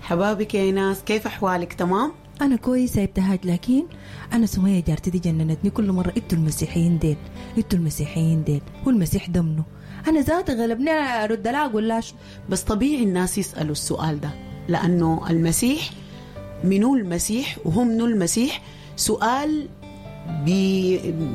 حبابك يا ايناس، كيف احوالك؟ تمام؟ انا كويسة يا ابتهاج، لكن انا سميه جارتي دي جننتني كل مرة. انتوا المسيحيين ديل، انتوا المسيحيين ديل، هو المسيح ده منو؟ انا ذاتي غلبني ارد لها اقول لها شو. بس طبيعي الناس يسالوا السؤال ده، لانه المسيح منو المسيح وهو منو المسيح سؤال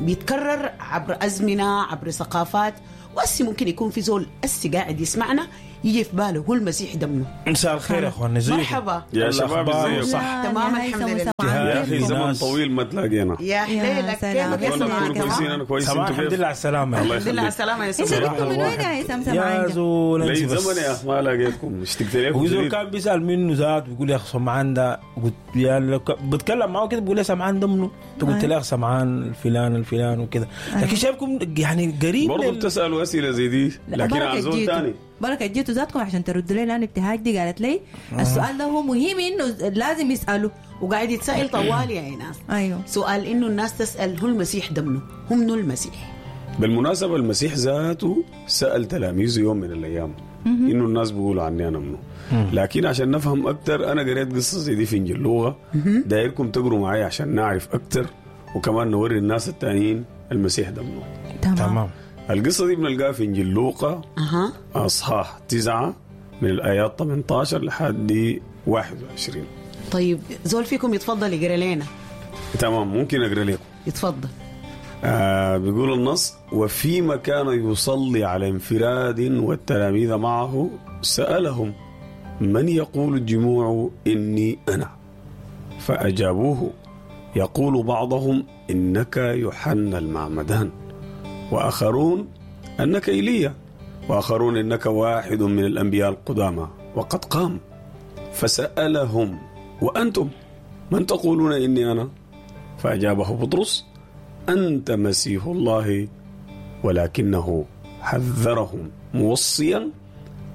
بيتكرر عبر أزمنة، عبر ثقافات. وأسي ممكن يكون في زول أسي قاعد يسمعنا يجي في باله هو المسيح ده منو. مساء الخير يا اخوان، ازيكم؟ مرحبا يا شباب، الأخبار؟ ازيكم؟ صح. تمام، يا الحمد هيثم لله. وسمعان، يا اخي كيفكم؟ زمن ناس. طويل ما تلاقينا. يا حليلك، سلام. كيفك يا اتمنى سمعان؟ تكونوا كويسين. تمام انا كويس، سمعان انتوا الحمد كيف؟ لله على السلامة. الله الحمد لله على يخليك. السلامة يا انت سمعان. جبتوا من وين يا هيثم يا سمعان؟ زول لي انت بس. زمن يا اخي ما لاقيتكم، اشتقت لكم وزول شديد. كان بيسال منه ذات، بيقول يا اخي سمعان ده، قلت يا بتكلم معه كده بيقول لي سمعان ده منو؟ قلت له يا اخي سمعان الفلان الفلان وكده، لكن شايفكم يعني قريب برضه بتسالوا اسئلة زي دي، لا، لكن بركة عن زول جيتوا. ثاني. بركة جيتوا ذاتكم عشان تردوا لي، لان ابتهاج دي قالت لي السؤال ده هو مهم انه لازم يسالوا. وقاعد يتسأل طوال يا ايناس. ايوه. سؤال انه الناس تسأل هو المسيح ده منو؟ هو منو المسيح؟ بالمناسبة المسيح ذاته سال تلاميذه يوم من الايام انه الناس بيقولوا عني انا منو. لكن عشان نفهم اكثر، انا قريت قصة زي دي في انجيل لوقا، دايركم تقروا معي عشان نعرف اكثر وكمان نوري الناس التانيين المسيح ده منو. تمام. تمام. القصة دي بنلقاها في انجيل لوقا اها اصحاح 9 من الايات 18 لحد 21. طيب زول فيكم يتفضل يقرا لنا. تمام، ممكن اقرا لكم. يتفضل. بيقول النص: وفيما كان يصلي على انفراد والتلاميذ معه سألهم: من يقول الجموع إني أنا؟ فأجابوه: يقول بعضهم إنك يوحنا المعمدان، وآخرون أنك إيليا، وآخرون إنك واحد من الأنبياء القدامى وقد قام. فسألهم: وأنتم من تقولون إني أنا؟ فأجابه بطرس: أنت مسيح الله. ولكنه حذرهم موصيا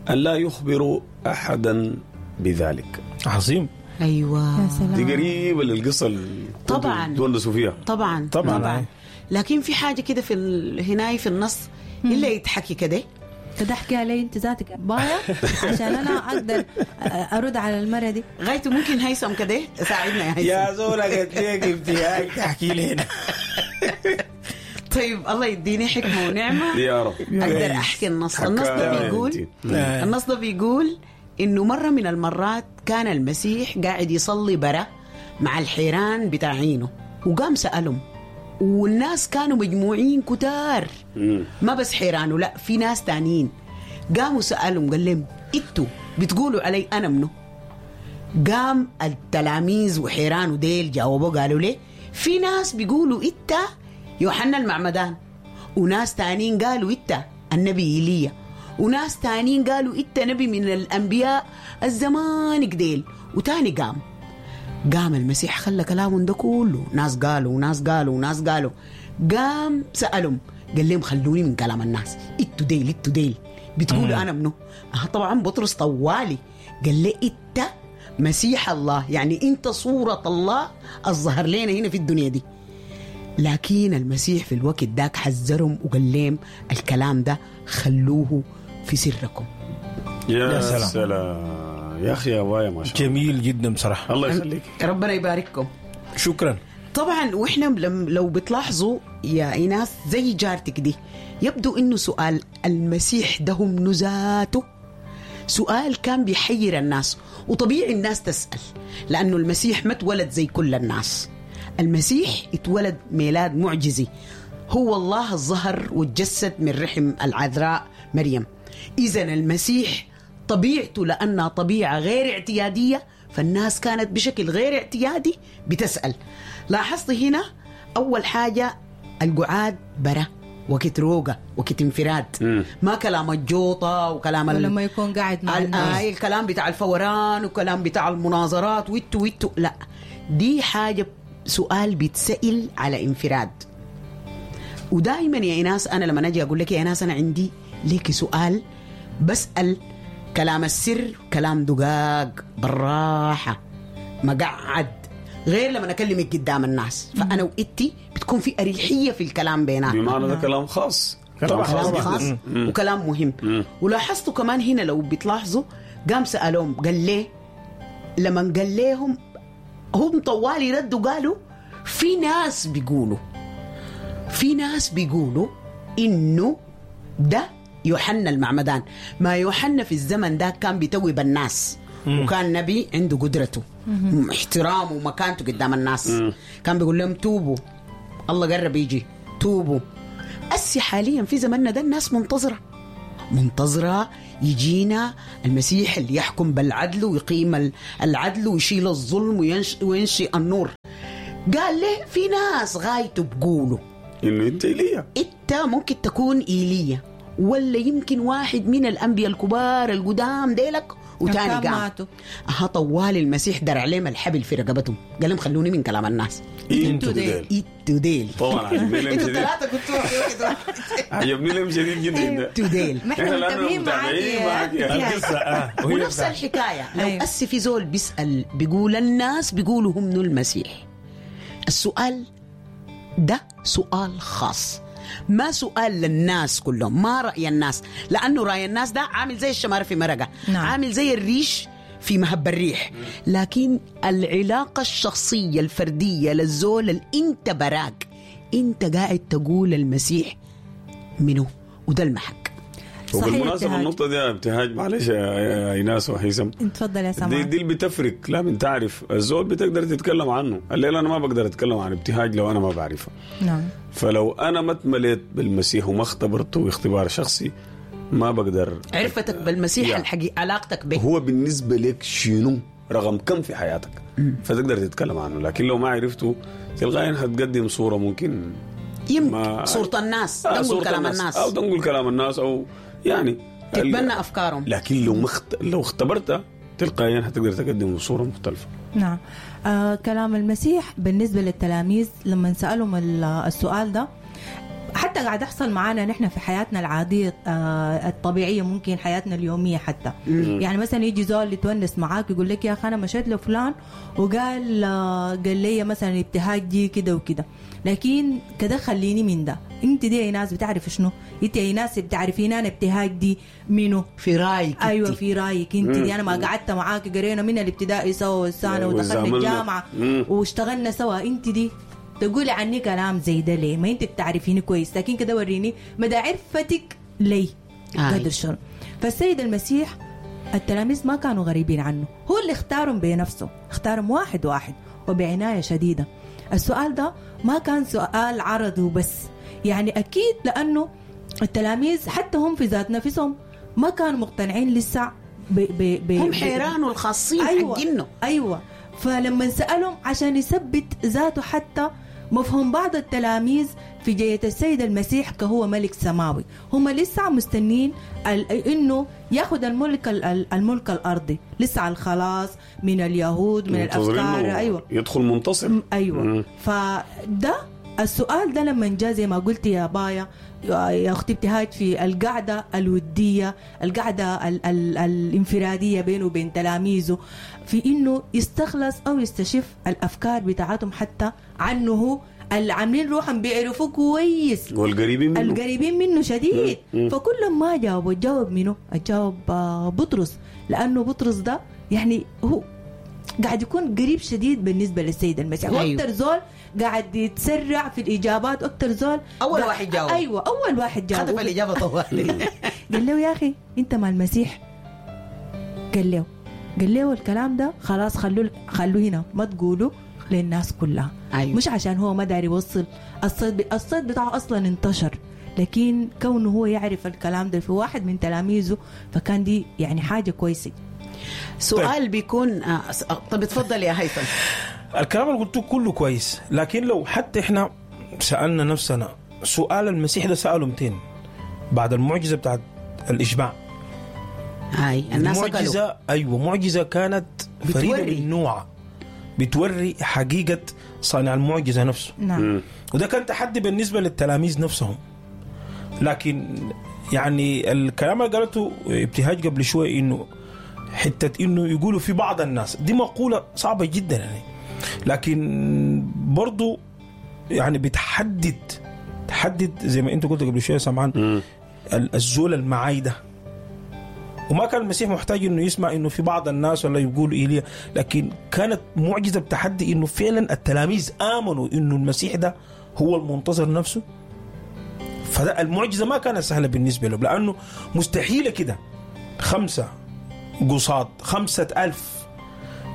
أن لا يخبروا أحدا بذلك. عظيم. ايوه يا سلام. دي قريبة للقصة اللي كنتوا طبعاً. تونسوا فيها. طبعا طبعاً. طبعا. لكن في حاجة كده في هناي في النص الا يتحكي كده. كده احكيها لي انت ذاتك بايا عشان انا اقدر ارد على المرة دي. غايته ممكن هيثم كده ساعدنا يا هيثم. يا زول قلت لك ابتهاج تحكي لنا. طيب الله يديني حكمه ونعمه يا رب. اقدر احكي النص. النص ده حكاية بيقول انت. النص ده بيقول انه مرة من المرات كان المسيح قاعد يصلي برا مع الحيران بتاعينه، وقام سالهم، والناس كانوا مجموعين كتار، ما بس حيرانه، لا في ناس تانيين. قاموا سالهم قال لهم: انتوا بتقولوا علي انا منو؟ قام التلاميذ وحيرانه ديل جاوبوا قالوا ليه: في ناس بيقولوا انت يوحنا المعمدان، وناس تانيين قالوا انت النبي ايليا، وناس تانيين قالوا انت نبي من الانبياء الزمانك ديل. وتاني قام المسيح خلى كلامهم ده كله، ناس قالوا وناس قالوا وناس قالوا. قام سألهم قال لهم: خلوني من كلام الناس، انتوا ديل انتوا ديل بتقولوا انا منو؟ طبعا بطرس طوالي قال لي: انت مسيح الله، يعني انت صورة الله الظهر لنا هنا في الدنيا دي. لكن المسيح في الوقت داك حذرهم وقال لهم: الكلام ده خلوه في سركم. يا يا سلام. سلام يا اخي، يا بايا ما شاء الله. جميل جدا بصراحة. الله يخليك. ربنا يبارككم. شكرا. طبعا واحنا لو بتلاحظوا يا ايناس زي جارتك دي، يبدو انه سؤال المسيح ده هو منو ذاته سؤال كان بيحير الناس، وطبيعي الناس تسأل، لأنه المسيح ما اتولد زي كل الناس. المسيح اتولد ميلاد معجزي، هو الله الظهر وتجسد من رحم العذراء مريم. إذا المسيح طبيعته لأنها طبيعة غير اعتيادية، فالناس كانت بشكل غير اعتيادي بتسأل. لاحظت هنا أول حاجة القعاد برا، وقت روقة، وقت انفراد، ما كلام الجوطة وكلام ولما يكون قاعد مع الناس. الكلام بتاع الفوران وكلام بتاع المناظرات ويتو ويتو، لا دي حاجة سؤال بيتسأل على انفراد. ودائما يا ايناس انا لما اجي اقول لك يا ايناس انا عندي لك سؤال، بسأل كلام السر، كلام دقاق بالراحة مقعد، غير لما اكلمك قدام الناس. فانا وإنتي بتكون في اريحية في الكلام بيناتنا. بمعنى ده كلام خاص، كلام طبعاً. خاص كلام جداً. خاص وكلام مهم. ولاحظتوا كمان هنا لو بتلاحظوا قام سألهم قال ليه لما قال لهم، هم طوالي ردوا قالوا في ناس بيقولوا، في ناس بيقولوا انه ده يوحنا المعمدان. ما يوحنا في الزمن ده كان بيتوب الناس، وكان نبي عنده قدرته، احترامه ومكانته قدام الناس. كان بيقول لهم توبوا، الله قرب يجي، توبوا. أسي حاليا في زمننا ده الناس منتظرة يجينا المسيح اللي يحكم بالعدل ويقيم العدل ويشيل الظلم وينشئ النور. قال له في ناس غايته بقولوا إنه أنت إيليا، أنت ممكن تكون إيليا، ولا يمكن واحد من الأنبياء الكبار القدام ديلك وتاني قام. أها طوال المسيح درع لهم الحبل في رقبتهم، قال لهم خلوني من كلام الناس، انتوا ديل، انتوا ديل. طبعا عجبني لهم شديد، الثلاثة كنتوا عجبني لهم شديد جدا، انتوا ديل. ما احنا متابعين معاك القصة. ونفس الحكاية لو أسي في زول بيسأل بيقول الناس بيقولوا هم منو المسيح، السؤال ده سؤال خاص، ما سؤال للناس كلهم، ما رأي الناس، لأنه رأي الناس ده عامل زي الشمار في مرقة، نعم. عامل زي الريش في مهب الريح. لكن العلاقة الشخصية الفردية للزول اللي انت براك انت قاعد تقول المسيح منه، وده المحك. وبالمناسبة النقطة دي يا ابتهاج، معلش يا ايناس وهيثم، تفضل يا سماح. دي اللي بتفرق. لا من تعرف الزول بتقدر تتكلم عنه. الليلة أنا ما بقدر أتكلم عن ابتهاج لو أنا ما بعرفه. نعم. فلو أنا ما اتمليت بالمسيح وما اختبرته اختبار شخصي ما بقدر. عرفتك بالمسيح يعني الحقيقة، علاقتك به هو بالنسبة لك شنو، رقم كم في حياتك، فتقدر تتكلم عنه. لكن لو ما عرفته تلقائيا هتقدم صورة ممكن يمكن صورة الناس، تنقل كلام الناس، أو تنقل كلام الناس، أو يعني تتبنى أفكارهم. لكن لو لو اختبرتها تلقائيا هتقدر تقدم صورة مختلفة. نعم. كلام المسيح بالنسبة للتلاميذ لما سألهم السؤال ده، حتى قاعد يحصل معانا نحن في حياتنا العادية الطبيعية، ممكن حياتنا اليومية حتى. يعني مثلا يجي زول يتونس معاك يقول لك يا أخي أنا مشيت لفلان وقال قال لي مثلا ابتهاج دي كده وكده، لكن كده خليني من ده. انت دي يا ناس بتعرف شنو؟ انت يا ناس بتعرفين انا ابتهاج دي منو؟ في رايك. ايوه في رايك انت دي. انا ما قعدت معاك، قرينا من الابتدائي سوا والسنة ودخلنا الجامعة واشتغلنا سوا، انت دي تقولي عني كلام زي ده ليه؟ ما انت بتعرفيني كويس، لكن كده وريني مدى عرفتك لي قدر شنو. فالسيد المسيح التلاميذ ما كانوا غريبين عنه، هو اللي اختارهم بنفسه، اختارهم واحد واحد وبعناية شديدة. السؤال ده ما كان سؤال عرضي وبس، يعني أكيد لأنه التلاميذ حتى هم في ذات نفسهم ما كانوا مقتنعين لسه هم حيران والخاصين. أيوة حقينه. أيوة. فلما سألهم عشان يثبت ذاته حتى مفهوم بعض التلاميذ في جاية السيد المسيح كهو ملك سماوي، هم لسه مستنين انه ياخذ الملك الملك الارضي، لسه على الخلاص من اليهود من الافكار. ايوه يدخل منتصر. ايوه. فده السؤال ده لما جاء زي ما قلت يا بايا يا اختي ابتهاج في القعدة الودية، القعدة ال ال الانفراديه بينه وبين تلاميذه، في انه يستخلص او يستشف الافكار بتاعتهم حتى عنه هو، اللي عاملين روحهم بيعرفوه كويس والقريبين منه، القريبين منه شديد. فكل ما جاوبوا جاوب منه، جاوب بطرس، لانه بطرس ده يعني هو قاعد يكون قريب شديد بالنسبة للسيد المسيح. أيوه. واكثر زول قاعد يتسرع في الاجابات، واكثر زول اول واحد جاوب. ايوه اول واحد جاوب، خطف الاجابة طوالي. قال له يا اخي انت مع المسيح؟ قال له الكلام ده خلاص خلوه هنا، ما تقولوا للناس كلها. أيوه. مش عشان هو ما داري يوصل الصيد بتاعه اصلا انتشر، لكن كونه هو يعرف الكلام ده في واحد من تلاميذه، فكان دي يعني حاجة كويسة. سؤال طيب. بيكون طب اتفضل يا هيثم. الكلام اللي قلته كله كويس، لكن لو حتى احنا سألنا نفسنا سؤال المسيح ده سأله 200 بعد المعجزة بتاعت الإشباع. هاي الناس معجزة. أيوة معجزة كانت فريدة من نوعها، بتوري حقيقة صانع المعجزة نفسه. نعم. وده كان تحدي بالنسبة للتلاميذ نفسهم. لكن يعني الكلام اللي قالته ابتهاج قبل شوي إنه حتة إنه يقولوا في بعض الناس، دي مقولة صعبة جدا يعني، لكن برضو يعني بتحدد تحدد زي ما أنت قلت قبل شوية سمعان، الزول المعايدة وما كان المسيح محتاج انه يسمع انه في بعض الناس ولا يقولوا ايليا، لكن كانت معجزه بتحدي انه فعلا التلاميذ امنوا انه المسيح ده هو المنتظر نفسه. فده المعجزة ما كانت سهلة بالنسبة لهم، لانه مستحيلة كده 5 قصاد 5,000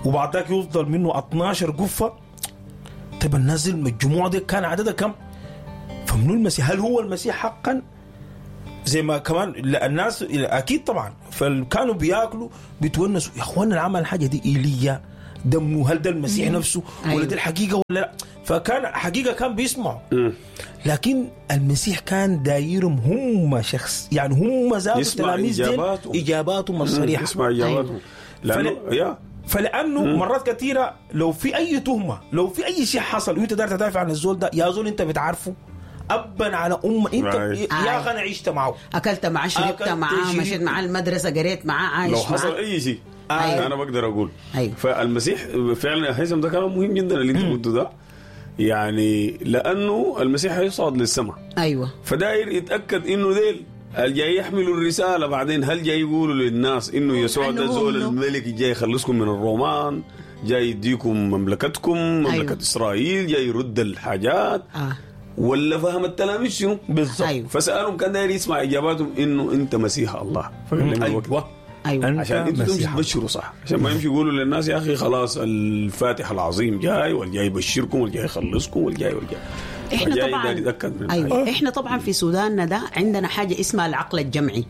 وبعد ذاك يفضل منه 12 قفة. طيب الناس المجموعة دي كان عددها كم؟ فمنو المسيح؟ هل هو المسيح حقا؟ زي ما كمان الناس اكيد طبعا فكانوا بياكلوا بيتونسوا، يا اخوانا العمل الحاجة دي ايليا دمه، هل ده المسيح نفسه ولا أيوة. دي الحقيقة ولا لا؟ فكان حقيقة كان بيسمعوا، لكن المسيح كان دايرهم هم شخص، يعني هم ذات يسمع التلاميذ ديل إجاباتهم. اجاباتهم الصريحة. يسمع اجاباتهم لانه يا فلانه مرات كثيرة لو في اي تهمه، لو في اي شيء حصل وانت داير تدافع عن الزول ده، يا زول انت بتعرفه ابا على ام انت Right. يا اخي انا عشت معه، اكلت معاه، شربت أكلت، معاه، شربت. مشيت معاه المدرسة، قريت معاه، عايش لو حصل معاه. اي شيء أيوة. انا بقدر اقول. أيوة. فالمسيح فعلا يا هيثم ده كلام مهم جدا اللي انت قلته ده، يعني لانه المسيح هيصعد للسماء، ايوه فداير يتاكد انه ديل الجاي يحملوا الرسالة بعدين، هل جاي يقولوا للناس انه يسوع ده إنه هو زول منه. الملك جاي يخلصكم من الرومان، جاي يديكم مملكتكم، مملكة أيوة. اسرائيل، جاي يرد الحاجات، آه. ولا فهم التلاميذ شنو؟ بالضبط. أيوة. فسالهم كان داير يسمع اجاباتهم انه انت مسيح الله. فقال لهم الوقت. ايوه ايوه أنت عشان انتوا تمشوا مسيح. تبشروا صح، عشان ما يمشوا يقولوا للناس يا اخي خلاص الفاتح العظيم جاي، والجاي يبشركم، والجاي يخلصكم، والجاي والجاي. احنا فجاي طبعا داير يتاكد من ايوه الحاجة. احنا طبعا في سوداننا ده عندنا حاجة اسمها العقل الجمعي،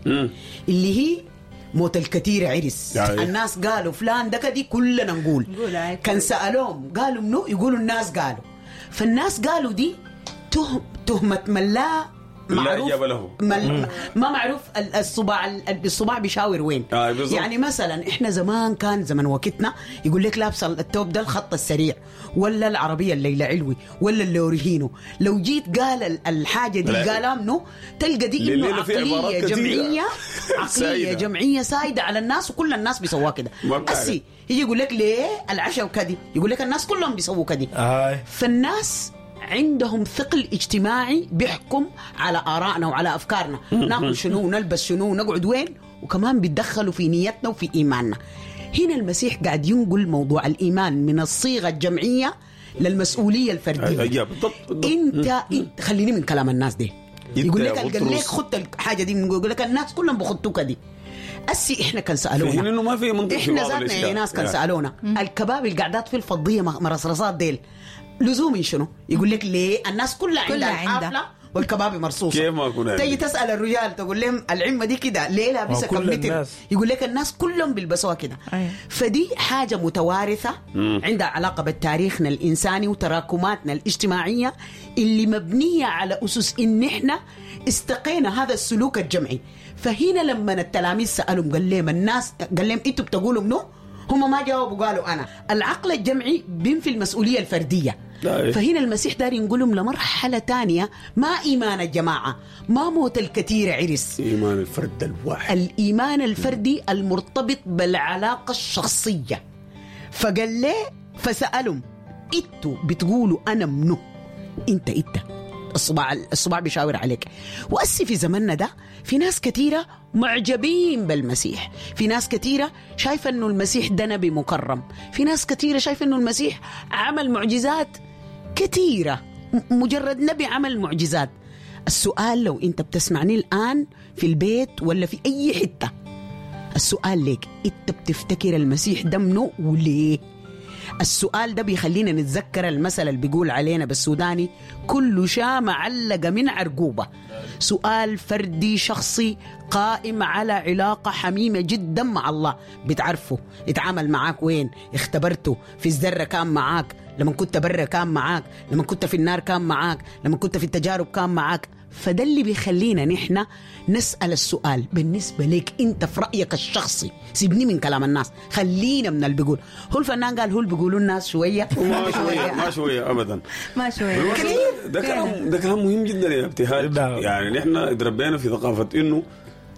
اللي هي موت الكثير عرس. يعني. الناس قالوا فلان ده كدي، كلنا نقول. نقول عادي. كان سالوهم قالوا منو، يقولوا الناس قالوا. فالناس قالوا دي تهمة من لا لا معروف، إجابة له. ما معروف الصباع، الصباع بيشاور وين. بالضبط. يعني مثلا احنا زمان كان زمن وقتنا يقول لك لابسه التوب ده الخط السريع، ولا العربية الليلة علوي، ولا اللوريهينو. لو جيت قال الحاجة دي لا. قالها منه، تلقى دي انه الليلة في عبارات عقلية كثيرة. جمعية، عقلية سايدة. جمعية سايده على الناس، وكل الناس بيسووها كده. ما بتعرف. أسي يجي يقول لك ليه العشاء وكدي، يقول لك الناس كلهم بيسووا كدي. فالناس عندهم ثقل اجتماعي بيحكم على آرائنا وعلى أفكارنا، ناكل شنو ونلبس شنو ونقعد وين، وكمان بيتدخلوا في نيتنا وفي إيماننا. هنا المسيح قاعد ينقل موضوع الإيمان من الصيغة الجمعية للمسؤولية الفردية. أيوة، بالضبط، بالضبط. انت خليني من كلام الناس دي. أنت يقول يا لك قال لك بطرس. خدت الحاجة دي، يقول لك الناس كلهم بخطوك دي. أسي احنا كان في حين سالونا، انه ما في منطق في احنا بعض ذاتنا يا الاشياء. ناس كان يعني. سالونا الكباب القعدات في الفضيه مرصرصات ديل لزوم شنو؟ يقول لك ليه الناس كلها عندها كلها عندها. الحافلة والكباب مرصوصه. كيف ما أكون عندي؟ تيجي تسال الرجال تقول لهم العمه دي كده ليه لابسه ما كل كم متر؟ الناس. يقول لك الناس كلهم بيلبسوها كده. أيوة. فدي حاجة متوارثه عندها علاقة بتاريخنا الانساني وتراكماتنا الاجتماعية اللي مبنية على اسس ان احنا استقينا هذا السلوك الجمعي. فهنا لما التلاميذ سالهم قال لهم الناس، قال لهم انتوا بتقولوا منو؟ هم ما جاوبوا، قالوا انا. العقل الجمعي بينفي المسؤولية الفردية. لا. فهنا المسيح دار ينقلهم لمرحلة تانية، ما ايمان الجماعة، ما موت الكثير عرس، ايمان الفرد الواحد، الإيمان الفردي المرتبط بالعلاقة الشخصية. فقال ليه، فسألهم انتوا بتقولوا أنا منو؟ انت الصباع بيشاور عليك. وأسي في زمننا ده في ناس كثيرة معجبين بالمسيح، في ناس كثيرة شايفة أنه المسيح ده نبي مكرم، في ناس كثيرة شايفة أنه المسيح عمل معجزات كثيرة، مجرد نبي عمل معجزات. السؤال لو أنت بتسمعني الآن في البيت ولا في أي حتة، السؤال ليك أنت بتفتكر المسيح ده منو وليه؟ السؤال ده بيخلينا نتذكر المثل اللي بيقول علينا بالسوداني كل شاة معلقة من عرقوبة. سؤال فردي شخصي قائم على علاقة حميمة جدا مع الله، بتعرفه، اتعامل معاك وين، اختبرته في الذرة كان معاك، لما كنت برا كان معاك، لما كنت في النار كان معاك، لما كنت في التجارب كان معاك. فده اللي بيخلينا نحن نسأل السؤال بالنسبة لك أنت في رأيك الشخصي، سيبني من كلام الناس، خلينا من اللي بيقول هو الفنان، قال هو اللي بيقولوا الناس شوية ما شوية، ما شوية ابدا، ما شوية كثير. ده كلام، ده كلام مهم جدا يا ابتهاج. نعم. يعني نحن تربينا في ثقافة انه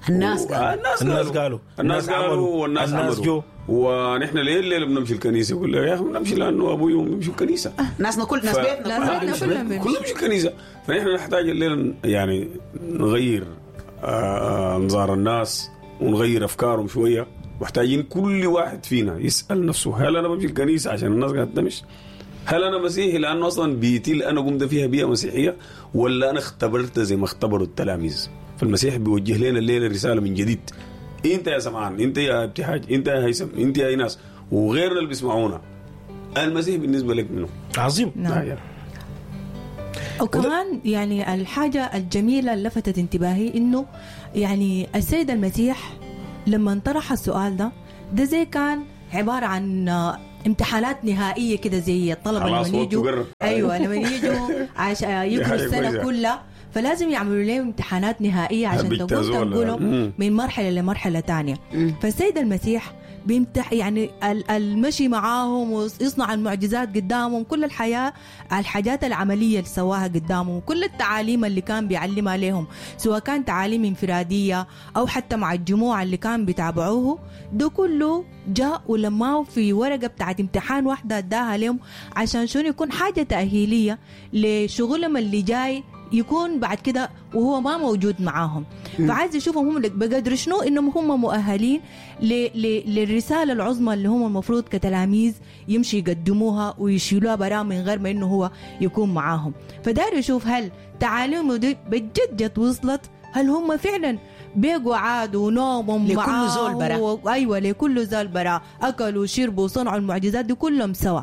الناس قالوا. الناس الناس قالوا، قالوا. الناس الناس قالوا، عملوا. والناس الناس عملوا. جو. ونحن ليه الليلة بنمشي الكنيسة؟ يقول لك يا اخي بنمشي لانه ابوي وامي بيمشوا الكنيسة. ناسنا كل ناس بيتنا ناس كلها بيتنا كلهم بيمشوا. كلهم بيمشوا الكنيسة. فنحن نحتاج الليلة يعني نغير انظار الناس ونغير افكارهم شوية. محتاجين كل واحد فينا يسال نفسه، هل انا بمشي الكنيسة عشان الناس قاعدة تمشي؟ هل انا مسيحي لانه اصلا بيتي اللي انا قمت فيها بيئة مسيحية، ولا انا اختبرت زي ما اختبروا التلاميذ؟ فالمسيح بيوجه لنا الليلة رسالة من جديد. انت يا سمعان، انت يا ابتهاج، انت يا هيثم، انت يا ايناس، وغيرنا اللي بيسمعونا، المسيح بالنسبة لك منه؟ عظيم. نعم. وكمان يعني الحاجة الجميلة اللي لفتت انتباهي إنه يعني السيد المسيح لما طرح السؤال ده زي كان عبارة عن امتحانات نهائية كده، زي الطلبة لما يجوا، أيوة لما يجوا عشان يقروا السنة كلها، فلازم يعملوا لهم امتحانات نهائية عشان تنقلهم من مرحلة لمرحلة تانية. فالسيد المسيح بيمتح يعني المشي معاهم ويصنع المعجزات قدامهم، كل الحياة الحاجات العملية اللي سواها قدامهم، كل التعاليم اللي كان بيعلمها لهم، سواء كان تعاليم انفرادية أو حتى مع الجموع اللي كان بيتابعوه، ده كله جاء ولماه في ورقة بتاعت امتحان واحدة اداها لهم عشان شنو؟ يكون حاجة تأهيلية لشغلهم اللي جاي يكون بعد كده وهو ما موجود معاهم. فعايز يشوفهم هم بقدر شنو انهم هم مؤهلين للرسالة العظمى اللي هم المفروض كتلاميذ يمشي يقدموها ويشيلوها برا من غير ما انه هو يكون معاهم. فدار يشوف هل تعاليمه دي بجد جت وصلت، هل هم فعلا بيقوا عادوا ونومهم لكل زول برا، ايوه لكل زول برا، اكلوا وشربوا وصنعوا المعجزات دي كلهم سوا،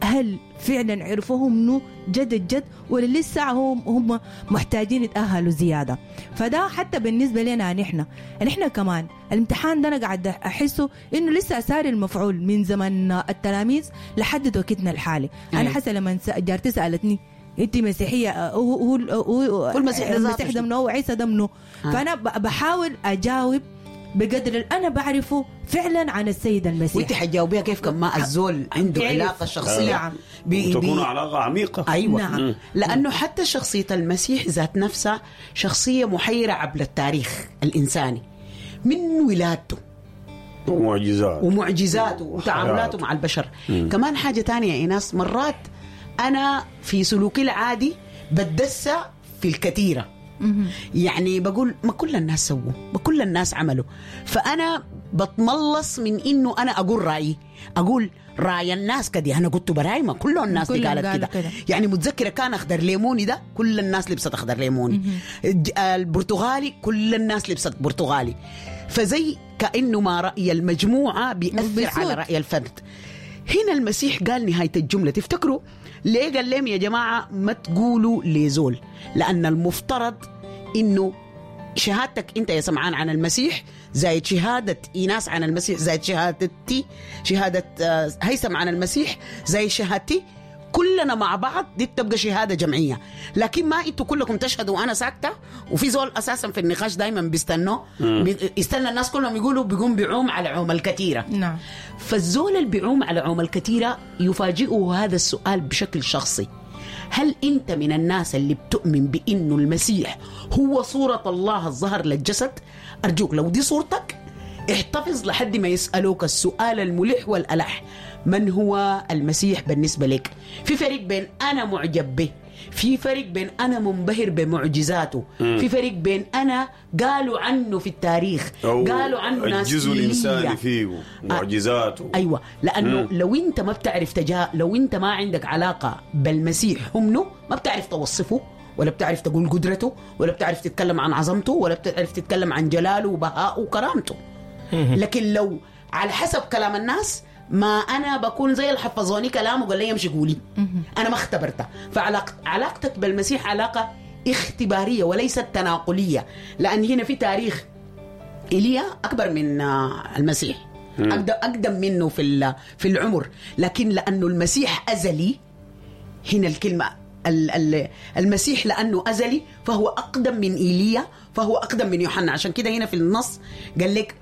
هل فعلا عرفوهم انه جد الجد ولا لسه هم محتاجين يتأهلوا زيادة؟ فده حتى بالنسبة لنا نحن كمان الامتحان ده أنا قاعد أحسه إنه لسه ساري المفعول من زمن التلاميذ لحد وقتنا الحالي. أنا حاسة لما جارتي سألتني أنت مسيحية، هو المسيح ده منو، وعيسى ده منو، فأنا بحاول أجاوب بقدر اللي أنا بعرفه فعلا عن السيد المسيح. وانت حتجاوبيها كيف كما الزول عنده علاقة شخصية وتكون علاقة عميقة. أيوة. نعم. لأنه حتى شخصية المسيح ذات نفسها شخصية محيرة عبر التاريخ الإنساني، من ولادته ومعجزاته وتعاملاته مع البشر. كمان حاجة تانية يا إيناس، مرات أنا في سلوكي العادي بتدسى في الكثيرة، يعني بقول ما كل الناس سووا، ما كل الناس عملوا، فأنا بتملص من إنه أنا أقول رأيي، أقول رأي الناس كده، أنا قلت براي ما كل الناس دي قالت كده. يعني متذكرة كان أخضر ليموني ده كل الناس لبست أخضر ليموني، البرتغالي كل الناس لبست برتغالي، فزي كأنه ما رأي المجموعة بيأثر على رأي الفرد. هنا المسيح قال نهاية الجملة، تفتكروا ليه قال لهم يا جماعة ما تقولوا لزول؟ لأن المفترض إنه شهادتك أنت يا سمعان عن المسيح زائد شهادة إيناس عن المسيح زائد شهادتي، شهادة هيثم عن المسيح زائد شهادتي، كلنا مع بعض دي بتبقى شهادة جمعية. لكن ما انتوا كلكم تشهدوا وأنا ساكتة، وفي زول أساسا في النقاش دايما بيستنوا، يستنى الناس كلهم يقولوا، بيقوم بيعوم على عوم الكثيرة. نعم. فالزول اللي بيعوم على عوم الكثيرة يفاجئه هذا السؤال بشكل شخصي: هل أنت من الناس اللي بتؤمن بأنه المسيح هو صورة الله الظهر للجسد؟ أرجوك لو دي صورتك احتفظ لحد ما يسألوك السؤال الملح والألح: من هو المسيح بالنسبة لك؟ في فرق بين أنا معجب به، في فرق بين أنا منبهر بمعجزاته، في فرق بين أنا قالوا عنه في التاريخ، قالوا عنه ناس، الجزء الإنساني فيه معجزاته. أيوة، لأنه لو أنت ما بتعرف لو أنت ما عندك علاقة بالمسيح همنه، ما بتعرف توصفه، ولا بتعرف تقول قدرته، ولا بتعرف تتكلم عن عظمته، ولا بتعرف تتكلم عن جلاله وبهائه وكرامته. لكن لو على حسب كلام الناس، ما أنا بكون زي اللي حفظوني كلام وقال لي امشي قولي، أنا ما اختبرته. فعلاقتك بالمسيح علاقة اختبارية وليست تناقلية، لأن هنا في تاريخ إيليا أكبر من المسيح، أقدم منه في العمر، لكن لأنه المسيح أزلي، هنا الكلمة المسيح لأنه أزلي فهو أقدم من إيليا، فهو أقدم من يوحنا. عشان كده هنا في النص قال لك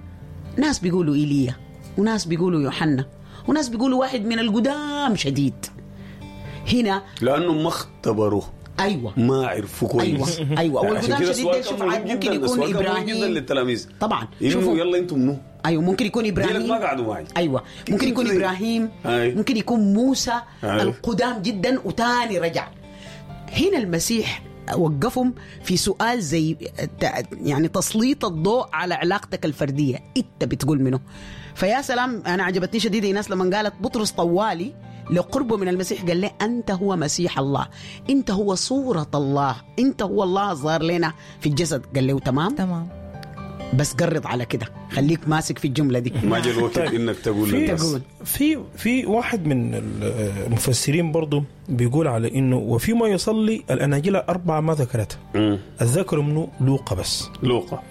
ناس بيقولوا إيليا، وناس بيقولوا يوحنا، وناس بيقولوا واحد من القدام شديد. هنا لأنه ما اختبروه، أيوة، ما عرفوا كويس. أيوة، والقدام شديد ده شوف ممكن يكون إبراهيم جدا للتلاميذ طبعا، شوفوا يلا انتم منو. أيوة، ممكن يكون إبراهيم، ما قعدوا معي. أيوة، ممكن يكون إبراهيم، ممكن يكون موسى، القدام جدا وتاني رجع. هنا المسيح وقفهم في سؤال زي يعني تسليط الضوء على علاقتك الفردية، انت بتقول منه. فيا سلام، انا عجبتني شديد الناس لما قالت بطرس طوالي لقربه من المسيح قال له أنت هو مسيح الله، أنت هو صورة الله، أنت هو الله ظهر لنا في الجسد. قال له تمام تمام، بس قرض على كده، خليك ماسك في الجملة دي. ما جاء الوقت إنك تقول للناس. في واحد من المفسرين برضو بيقول على إنه وفيما يصلي الأناجيل 4 ما ذكرتها، الذكر منه لوقا بس، لوقا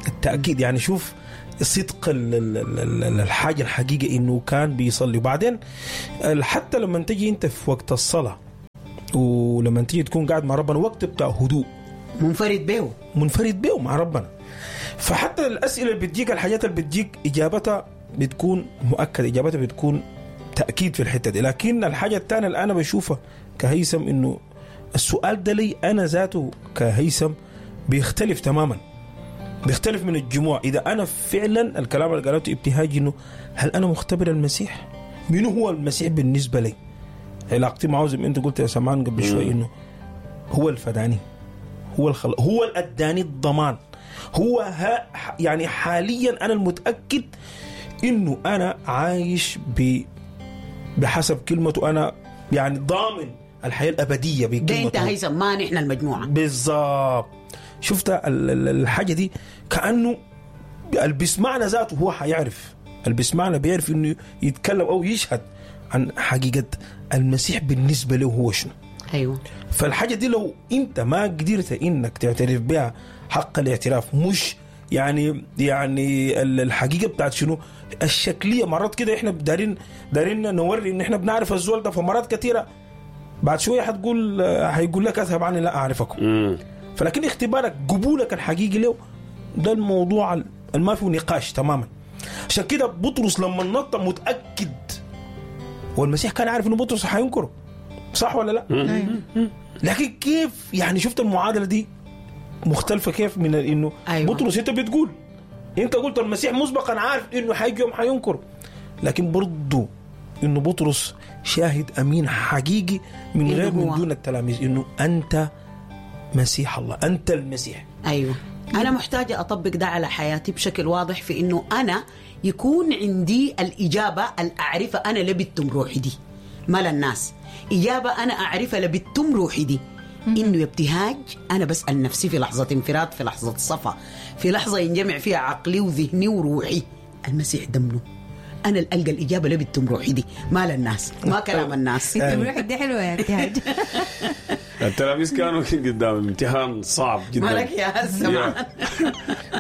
التأكيد. يعني شوف صدق الحاجة الحقيقة إنه كان بيصلي. وبعدين حتى لما تجي أنت في وقت الصلاة ولما تيجي تكون قاعد مع ربنا، وقت بتاع هدوء منفرد به مع ربنا، فحتى الأسئلة اللي بتجيك، الحاجات اللي بتجيك، إجابتها بتكون مؤكدة، إجابتها بتكون تأكيد في الحتة دي. لكن الحاجة الثانية اللي أنا بشوفها كهيثم، إنه السؤال ده لي أنا ذاته كهيثم بيختلف تماما، بيختلف من الجموع. إذا أنا فعلا الكلام اللي قالته ابتهاج، إنه هل أنا مختبر المسيح؟ من هو المسيح بالنسبة لي؟ علاقتي معه زي ما أنت قلت يا سمان قبل شوي، إنه هو الفداني، هو الخلق، هو الأداني الضمان، هو يعني حاليا أنا المتأكد إنه أنا عايش بحسب كلمته، أنا يعني ضامن الحياة الأبدية بكلمته. ده أنت هيثم، ما نحن المجموعة بالظبط. شفت الحاجة دي كأنه اللي بيسمعنا ذاته هو حيعرف، اللي بيسمعنا بيعرف إنه يتكلم أو يشهد عن حقيقة المسيح بالنسبة له هو شنو. أيوة. فالحاجة دي لو أنت ما قدرت إنك تعترف بها حق الاعتراف، مش يعني الحقيقة بتاعت شنو الشكلية. مرات كده إحنا دارين نوري إن إحنا بنعرف الزول ده، فمرات كثيرة بعد شوية هتقول هيقول لك أذهب عني لا أعرفكم. فلكن اختبارك قبولك الحقيقي له ده الموضوع ما فيه نقاش تماما. عشان كده بطرس لما نط متأكد، والمسيح كان عارف إنه بطرس حينكره، صح ولا لا؟ لكن كيف يعني شفت المعادلة دي مختلفة كيف من إنه أيوة. بطرس أنت بتقول، أنت قلت المسيح مسبقا عارف إنه حيجي يوم حينكره، لكن برضو إنه بطرس شاهد أمين حقيقي من غير من دون التلاميذ إنه أنت مسيح الله، أنت المسيح. أيوة. أنا محتاجة أطبق ده على حياتي بشكل واضح، في إنه أنا يكون عندي الإجابة الأعرفة أنا لبتم روحي دي، ما للناس. إجابة أنا أعرفها لبتم روحي دي، إنه ابتهاج أنا بسأل نفسي في لحظة انفراد، في لحظة صفا، في لحظة ينجمع فيها عقلي وذهني وروحي، المسيح دمنه. أنا ألقى الإجابة لبتم روحي دي، ما للناس، ما كلام الناس. انت روحك دي حلوة يا ابتهاج. التلاميذ كانوا قدام امتحان صعب جدا. مالك يا سمعان؟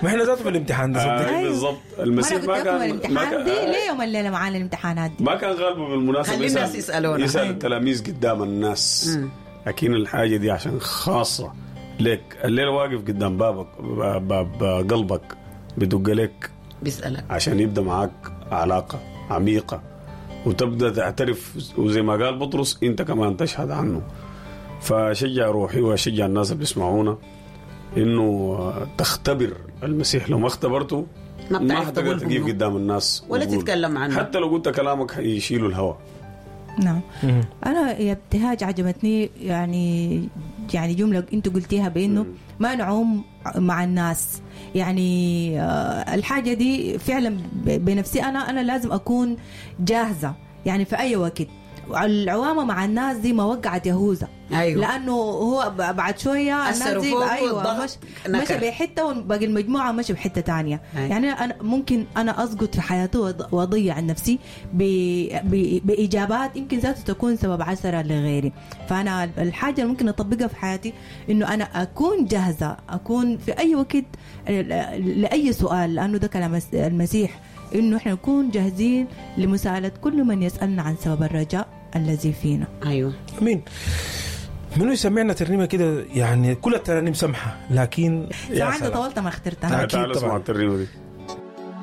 ما احنا ذاته في الامتحان ده صدق. بالضبط. المسيح ما كان الامتحان دي ليه يوم الليلة معانا الامتحانات دي؟ ما كان غالبه بالمناسبة. خلي الناس يسألونا، يسأل التلاميذ قدام الناس. لكن الحاجة دي عشان خاصة لك، الليلة واقف قدام بابك، باب قلبك بدق لك، بيسألك عشان يبدأ معاك علاقة عميقة وتبدأ تعترف، وزي ما قال بطرس انت كمان تشهد عنه. فشجع روحي وشجع الناس اللي بيسمعونا انه تختبر المسيح. لو ما اختبرته ما حتقدر تقف قدام الناس ولا تتكلم عنه، حتى لو قلت كلامك يشيلوا الهواء. نعم. أنا يا ابتهاج عجبتني يعني جملة أنت قلتيها بأنه ما نعوم مع الناس. يعني الحاجة دي فعلا بنفسي أنا لازم أكون جاهزة يعني في أي وقت. العوامة مع الناس دي ما وقعت يهوذا. أيوة. لأنه هو بعد شوية الناس دي أيوة مشى بحتة وباقي المجموعة مشى بحتة تانية. أيوة. يعني أنا ممكن أنا أسقط في حياتي وأضيع نفسي بإجابات يمكن ذاته تكون سبب عثرة لغيري. فأنا الحاجة اللي ممكن أطبقها في حياتي إنه أنا أكون جاهزة، أكون في أي وقت لأي سؤال، لأنه ده كلام المسيح إنه إحنا نكون جاهزين لمساءلة كل من يسألنا عن سبب الرجاء الذي فينا. أيوة. أمين. منو يسمعنا ترنيمة كده؟ يعني كل الترانيم سمحة، لكن يا سلام طولت ما اخترتها. تعال اسمع الترنيمة دي.